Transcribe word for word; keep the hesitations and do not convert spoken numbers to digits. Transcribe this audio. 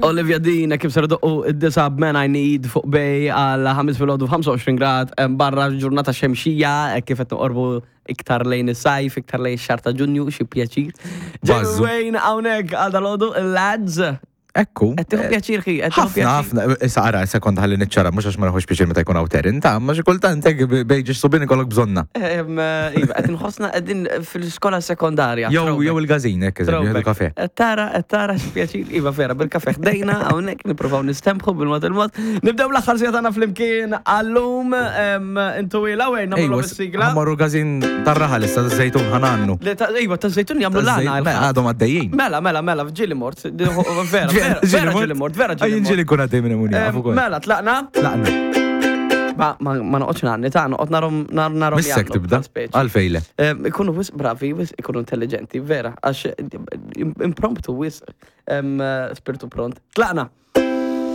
Olivia Dean, kif ser doqqu id-disa b'Man I Need fuq Bay għal ħames filgħodu, ħamsa u għoxrin grad, em, barra ġurnata xemxija, eh, kif qed noqorbu iktar lejn is-sajf, iktar lejn ix-xahar ta' Ġunju, xi pjaċir. Jamie Bazzu. Wayne hawnhekk għal dalgħodu, il-lads. Ekku. Qed tieħu pjaċir ħi, qed tieħu Ħafna, pjaċir. Ħafna, issa ara, sekonda ħalli niċċara, mhux għax ma naħux pjaċir meta jkun hawn Terin, ta' ma xi kultant hekk bejġi subin ikollok bżonna. Em, eh, Iva, qed inħossna qegħdin fil-iskola sekondarja. Jew jew il-gazin, hekk eżempju, jieħdu kafe. Qed tara, qed tara x'pjaċir, iva vera, bil-kafe ħdejna, hawnhekk nippruvaw nistembħu bil-mod il-mod. Nibdew l-aħħar siegħa tagħna flimkien għallum, em, intu ila wejn nagħmlu is-sigla. Ħa mmorru gazin tar-raħal issa żejtun ħa ngħannu. Li ta' Iva, ta' żejtun jagħmlu l-għana. Għadhom għaddejjin. Mela, mela, mela, ġieli mort. Vera, vera, vera ġieli mort, vera ġieli mort. Ġieli kun għaddej minn hemm Em, jafu kol. Mela, tlaqna. Tlaqna. Ma, ma, ma noqgħodx ngħanni, ta' noqgħod narom nar narom Missek jagħmlu tibda. bħal speċi. Għalfejle. Em, Ikunu wisq bravi, wisq ikunu intelligenti, vera, għax im- impromptu wisq em, spiritu pront. Tlaqna.